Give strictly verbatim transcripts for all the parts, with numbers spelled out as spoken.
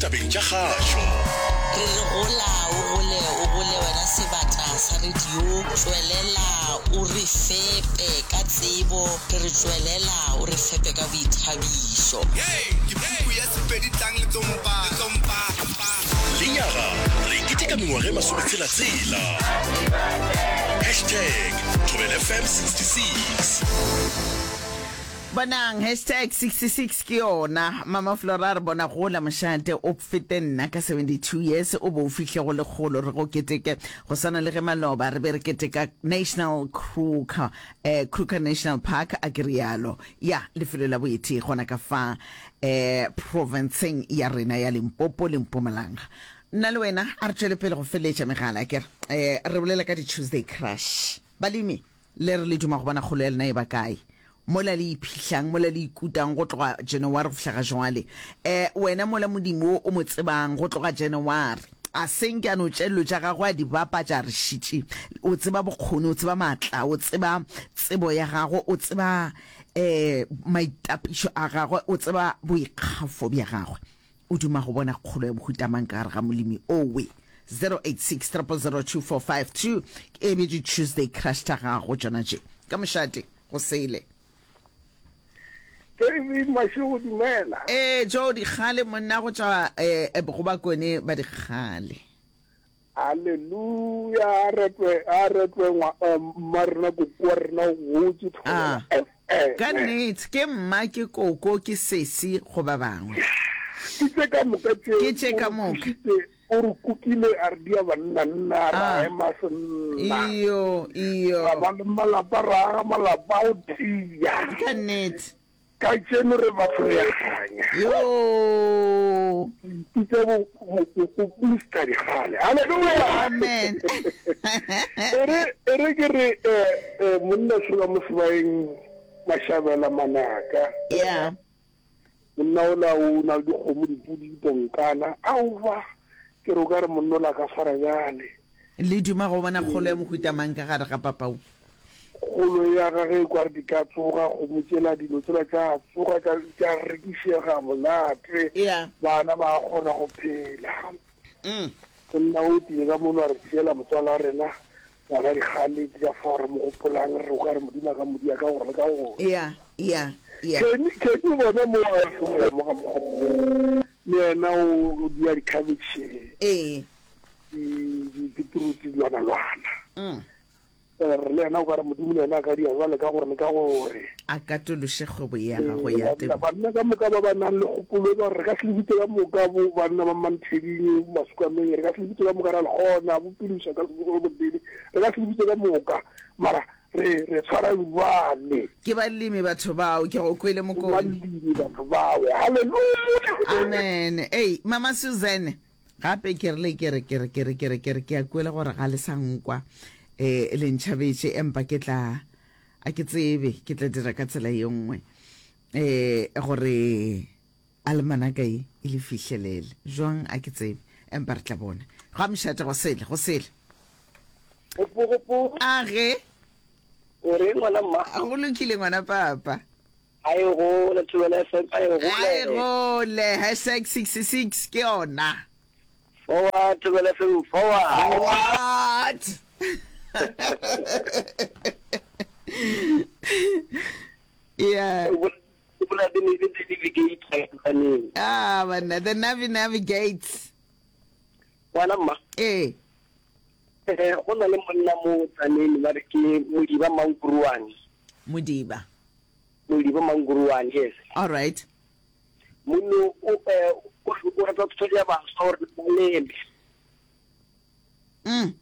Tabeng tša kgašo. Re re gola o gole o gole wena sebata sa radio tšwelela o re fepe ka tsebo re re tšwelela o re fepe ka boithabišo. Yei ke puku ya Sepedi tlang le tlo mpa, le tlo mpa. Lenyaga re keteka mengwaga e masometshela-tshela. Hashtag Thobela F M sixty-six. Bonang, hashtag sixty six ke yona. Mama Flora re bona gola mošate o fete nna ka seventy two years o be o fihle go lekgolo re go keteke go swana le ge maloba re be re keteka National Kruger eh, Kruger National Park a ke rialo ya lefelo la boeti gona ka fa eh, provinceng ya rena ya Limpopo le Mpumalanga. Nna le wena a re tšwele pele go feleletša megala ke re eh, re bolela ka di-Tuesday crush. Balemi le re le duma go bona kgolo ya lena e ba kae mola le iphihlang mola le ikutang go tloga January go fihla ga jwale. Eh wena mola Modimo wo o mo tsebang go tloga January a senke a no tše dilo tša gagwe a di bapatša a re šitše. O tseba bokgoni, o tseba maatla, o tseba tsebo ya gagwe, o tseba eh maitapišo a gagwe, o tseba boikgafo bja gagwe. O duma go bona kgolo ya mohuta mang ka gare ga molemi owe? zero eight six triple zero two four five two ke emetše Tuesday crush tša gago tšona tše. Ka mošate go sele. David Mashego dumela. Ee Joe Dikgale monna go tšwa eh go Bakone ba Dikgale. Haleluya a retwe a retwe ngwa mma rena koko wa rena o gotše Thobela Ah F M. ka nnete ke mma ke koko ke sesi go ba bangwe. Ke tše ka moka tše Ke tše o ka re moka. thušitše o re kukile a re dia banna nna ra Ah ema senna. iyo iyo. Ra ba le malapa ra aga malapa a go tia. Ka nnete. Kajeno re batho re a kganya. Yoo. Mpitsa bo bo Mister Dikgale. Hallelujah. Amen. E re e re ke re eh eh monna sola mo sebaeng Mashabela Manaka. Yeah. Monna ola o na le dikgomo dipudi diponkana. Aowa ke re o ka re monna ola ka swara bjale. Le duma go bona kgolo ya mohuta mang ka gare ga papau? Kgolo ya gage e kware di ka tsoga, kgomo tšela dilo tsela tša tsoga tša tša rekišega monate. Yeah. Bana ba kgona go phela. Mm. Monna o tlile ka mono a re tšeela motswala wa rena ngwana Dikgale ke ka fao re mo gopolang re re o ka re Modimo a ka mo dia ka gore le ka gore. Yeah, yeah, yeah. Kenny Kenny bona mo a šomela mo ga mokgopo le yena o o dia di-cabbage Ee. di di-beetroot dilwana-lwana. Mm. Re le yena o ka re Modimo le yena a ka dia bjale ka gore le ka gore. A katološe kgwebo ya gagwe ya Ee, temo. banna ka moka ba ba nang le kgopolo ba re ka se le bitse ka moka bo banna ba Mmantheding, bo Masukameng, re ka se le bitse ka moka ra le kgona, bo Piloša ka se Bodele, re ka se le bitse ka moka, mara re re tshwara bjale. Ke balemi batho bao, ke go kwele Ke Mokone. balemi batho bao. Hallelujah! Amen. Ei, Mama Suzanne, gape ke rile ke re ke re ke re ke re ke re ke a kwele gore ga le sa nkwa eh le ntšhabetše empa ke tla a ke tsebe ke tla dira ka tsela ye nngwe eh gore almanaka e e le fihlelele jwang a ke tsebe empa re tla bona ga mošate go sele go sele Gopo gopo. A ge O reng ngwana mma? Go lokile ngwana papa. A e gole Thobela F M a e gole. A e gole hashtag sixty six ke yona. Forward Thobela F M forward. Forward. Yeah. O bolela le the navigator. Ah, banna, the Navi navigates. Ngwana mma. Eh. Eh, go na le monna mo Tsaneni ba re ke Modiba Mankuruane. Modiba. Modiba Mankuruane, yes. All right. Monno o eh o o rata thuto ya baswa gore ba leme. Mm.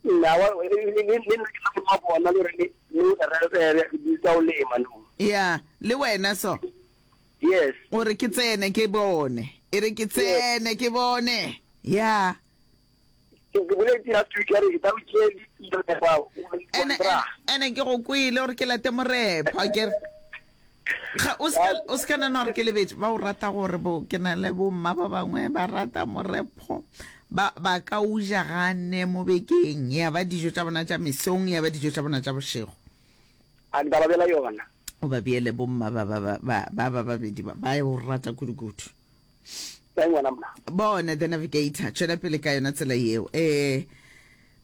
Nna wa le le le nna ke wa bona le re le re re bitsa o lema no. Yeah, le wena so. Yes. O re ke tsene ke bone. E re ke tsene ke bone. Yeah. Ke boletse last week ya re ke tla o tšee le Ene ene ke go kwele gore ke late morepo a ke re ga o ska o ska nana gore ke lebetse ba o rata gore bo ke na le bo mma ba bangwe ba rata morepo ba ba ka o ja gane mo bekeng ya ba dijo tša bona tša mesong ya ba dijo tša bona tša bošego. A nka ba bela yona. O ba beele bo mma ba ba ba ba ba babedi ba ba o rata kudu-kudu. Kae ngwana mna? Bona The Navigator, tšwela pele ka yona tsela yeo. Eh,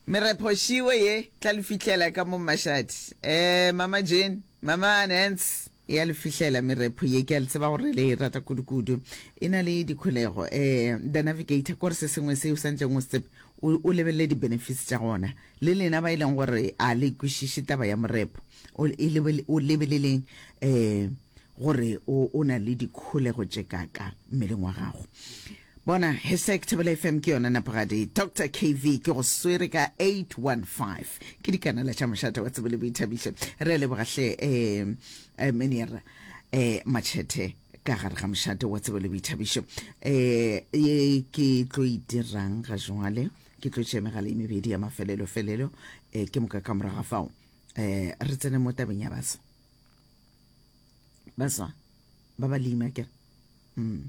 merepho šiwe ye tla le fihlela ka mo Mashadi. Eh, Mama Jane, Mama Nance, ya le fihlela merepho ye, ke a le tseba gore le e rata kudu-kudu. E na le dikholego. Eh, The Navigator, kore se sengwe se o santšeng o se tsebe, o, o lebelele di-benefits tša gona. Le lena ba e leng gore a le kwešiše taba ya morepo, o, e lebele, o lebeleleng, eh, gore o, o na le dikholego tše kaakang mmeleng wa gago. Bona, hashtag Thobela F M ke yona napogadi. Doctor K V ke go swere ka eight one five. Ke dikanala tša mošate wa tsebo le boithabišo. Re a leboga hle, eh, eh, Meneer, eh, Machete ka gare ga mošate wa tsebo le boithabišo. Eh, ye ke tlo e dirang ga jwale, ke tlo tšea megala e mebedi ya mafelelo-felelo, eh, ke moka ka morago ga fao, eh, re tsene mo tabeng ya baswa. Baswa ba ba lema ke re, mm,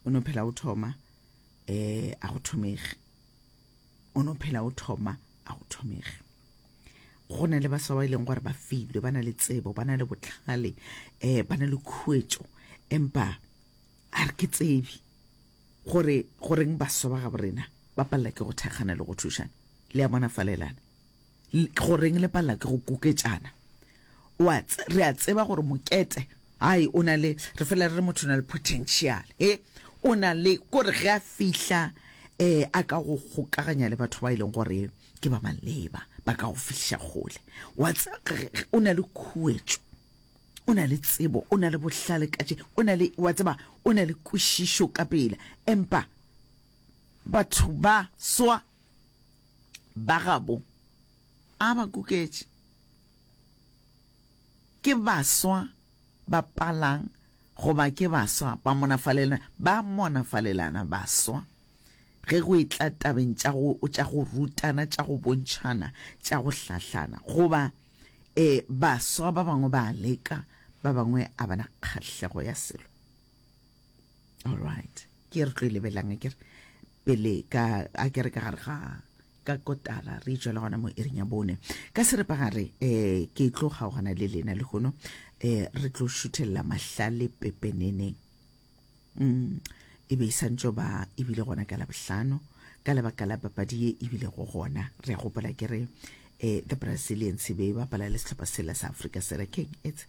o no phela o thoma, eh, a go thomege. O no phela o thoma, a go thomege. Go na le baswa ba e leng gore ba filwe, ba na le tsebo, ba na le botlhale, eh, ba na le khuetšo, empa a re ke tsebe gore goreng baswa ba gabo rena ba palela ke go thekgana le go thušana. Le a bona falelana. L-, goreng le palela ke go kuketšana. Wa tse-, re a tseba gore mokete, ai, o na le, re fela re re motho o na le potential, e, o na le, kore ge a fihla, eh, a ka go kgokaganya le batho ba e leng gore ke ba maleba, ba ka go fihliša kgole. Wa tse-, ge, ge, o na le khuetšo, o na le tsebo, o na le bohlale ka tše, o na le, wa tseba, o na le kwešišo ka pela. Empa batho ba swa ba gabo a ba kuketše. Ke baswa ba palang goba ke baswa ba monafalelana, ba monafalelana baswa ge go etla tabeng tša go, tša go rutana, tša go bontšhana, tša go hlahlana, goba, eh, baswa ba bangwe ba a leka, ba bangwe a bana kgahlego ya selo. All right, ke re tlo e lebelang, a ke re pele ka, a ke re ka gare ga ka kotara re tšwela gona mo iring ya bone ka seripagare, eh, ke tlo kgaogana le lena lehono, eh, re tlo šuthelela mahlale pepeneneng. Mm, e be e santšo ba ebile gona ka Labohlano ka lebaka la papadi ye ebile go gona. Re a gopola ke re, eh, the Brazilians e be e bapala le sehlopha sela sa Afrika sela King it's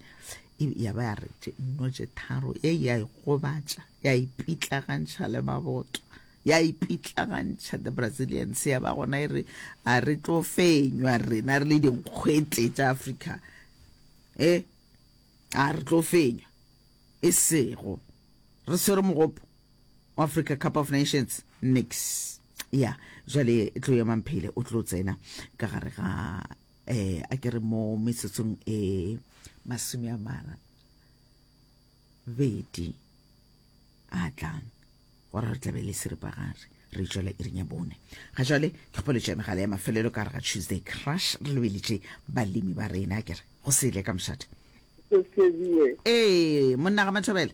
e ya ba ya re tše nno tše tharo e ya e gobatša, ya ipitlagantšha le maboto, ya ipitlagantšha the Brazilians ya ba gona e re a re tlo fenywa rena re le dinkgwete tša Afrika, eh, a re tlo fenywa e sego re swere mogopo wa Africa Cup of Nations nix. Ya jwale tlo ya Mamphele o tlo tsena ka gare ga, eh, a ke re mo metsotsong e masome a mabedi a tlang gore re tlabe le seripagare re tšwela iring ya bone. Ga jwale ke kgopeletšo ya megala ya mafelelo ka gare ga Tuesday Crush re lebeletše balemi ba rena, ke re go sele ka mošate. Ee, monna ga Mathobela.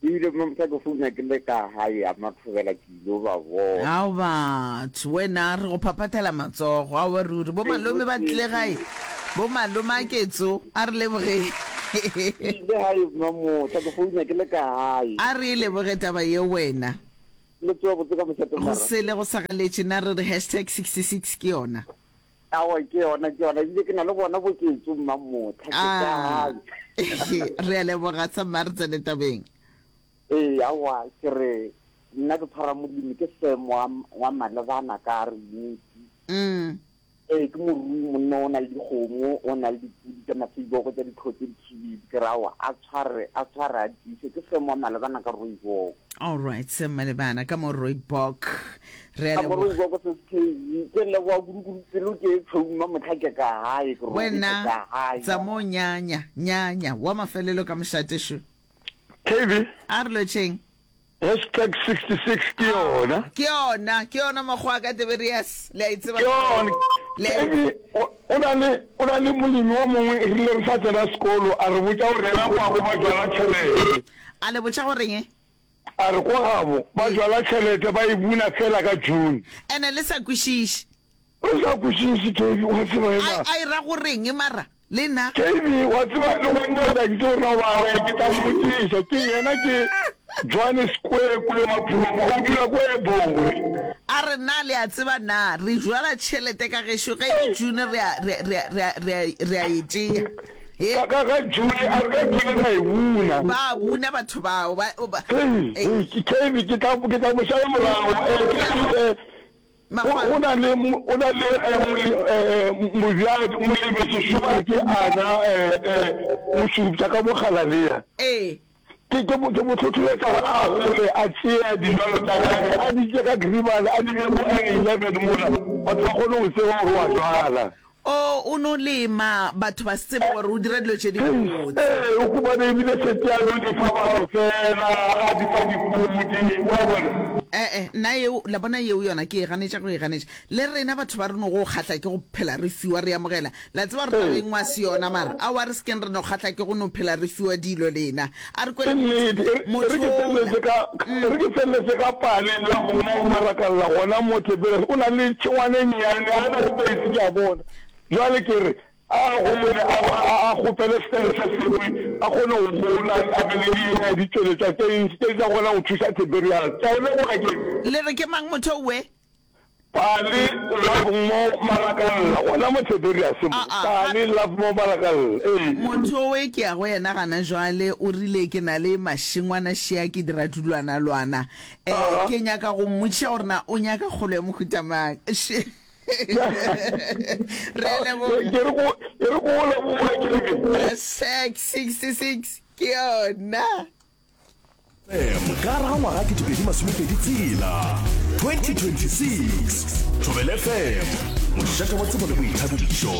Ebile mma ke founa ke le ka gae a Mathobela ke ile ba bona. Ao batho, wena re go phaphathela matsogo. Aowa ruri, bo malome ba tlile gae. Bo malome a ketso, a re leboge. Ke ile gae mma motha, ke founa ke le ka gae. A re e leboge taba ye wena. Le tsoa botse ka mošate Go mara. sele go sa galetše, na re re hashtag sixty-six ke yona. Aowa ke yona, ke yona. Ebile ke na le bona boketso mma motha, ke ka Ah. gae. Re a leboga sa mma re tsene tabeng. Ee, aowa, ke re nna ke tshwara molemi ke Sam wa, wa malebana ka re nnete. Mm. Ee, ke morui monna o na le dikgomo, o na le dipudi tša mafeiboko tša ditlho tše dikhibidu. Ke re aowa, a tshware, a tshware a tiiše. Ke Sam wa malebana ka Rooibok. All right, Sam Malebana ka mo Rooibok. Re a Ka mo leboga. Rooibok se se K V. Ke leboga kudu-kudu, pelo ke e tšhweu mma mohla ke ka gae, ke robetse Wena, ka gae. tsa mo nyanya, nyanya, wa mafelelo ka mošate šo. K V. A re lotšheng. Hashtag sixty-six ke yona. Ke yona, ke yona makgowa ka Tiberias. Le a e tseba. Ke yona. Le a e K V, o, o na le, o na le molemi o mongwe e rile re sa tsena sekolo, a re botša gore yena kwa gabo ba jwala tšhelete. A le botša goreng? A re kwa gabo ba jwala tšhelete, ba e buna fela ka June. Ene le sa kwešiše. Re sa kwešiše, K V, wa tseba A, ena. a e ra goreng mara? Le nna. K V, wa tseba le go nna ke tlo rena ba re ke tla mmotšiša. Ke yena ke, Johannes Kwekwe Maphuromo o dula ko Ebongwe. A re, Na le a tseba na re jwala tšhelete ka gešo ge e le June re a, re, re, re, re a, re a e tšea? He? Ka, ka, ka June, a re ka June ra e buna. Ba a buna batho bao. Ba, ba, Hei, eh. hei, ke, Kevin, ke tla, ke tla mo šala morago. Eh, ke, eh, go, go na le, go na le, eh, mole, eh, mobjadi, molemi sešobane ke ana, eh, eh, mošupša ka mo Galalea. Ee. Ke, ke mo, ke mo hlohleletša gore a gole, a tšee dijalo tša gagwe, a di tšee ka Grimane, a di bee mo N eleven mola, batho ba kgone go tseba gore o a jala. O, o no lema, batho ba se tsebe gore o dira dilo tše dibotse. Ee, o humane ebile šetše a no di fa batho fela, a di fa dipudi, wa bona. E-e, nna yeo, la bona yeo yona ke e ganetša go e ganetša. Le rena batho ba re no go kgahla ke go phela re fiwa re amogela. La tseba re tla reng wa se yona mara aowa re se keng re no kgahla ke go no phela re fiwa dilo lena. A re Ke kwele nnete. E re, e re motho ke ola. felletše ka, e re ke felletše ka pale la go mo marakalla gona mo Tebelers. O na le tšhengwana e nnyane, ga a na space ke a bona. Bjale ke re a gole, a, a, a kgopele stand se sengwe, a kgone go gola, a be le di, ditšweletšwa tše ntši tše di tla kgonang go thuša Tiberias. Ke a go leboga ke. Le re ke mang motho owe? Pale love mo Malakalla, gona mo Tiberias mo. Aa, Pale love mo Malakalla, ee. Motho owe ke ya go yena gana jwale, o rile ke na le mašengwana šea ke dira dilwanalwana. Eh, ke nyaka go mmotšiša gore na o nyaka kgolo ya mohuta mang. Še. Re a leboga. Ke re go, ke re go leboga ke re. Sex sixty six ke yona. F M ka gare ga ngwaga ketepedi masomepedi tshela, twenty twenty six Thobela F M, mošate wa tsebo le boithabišo.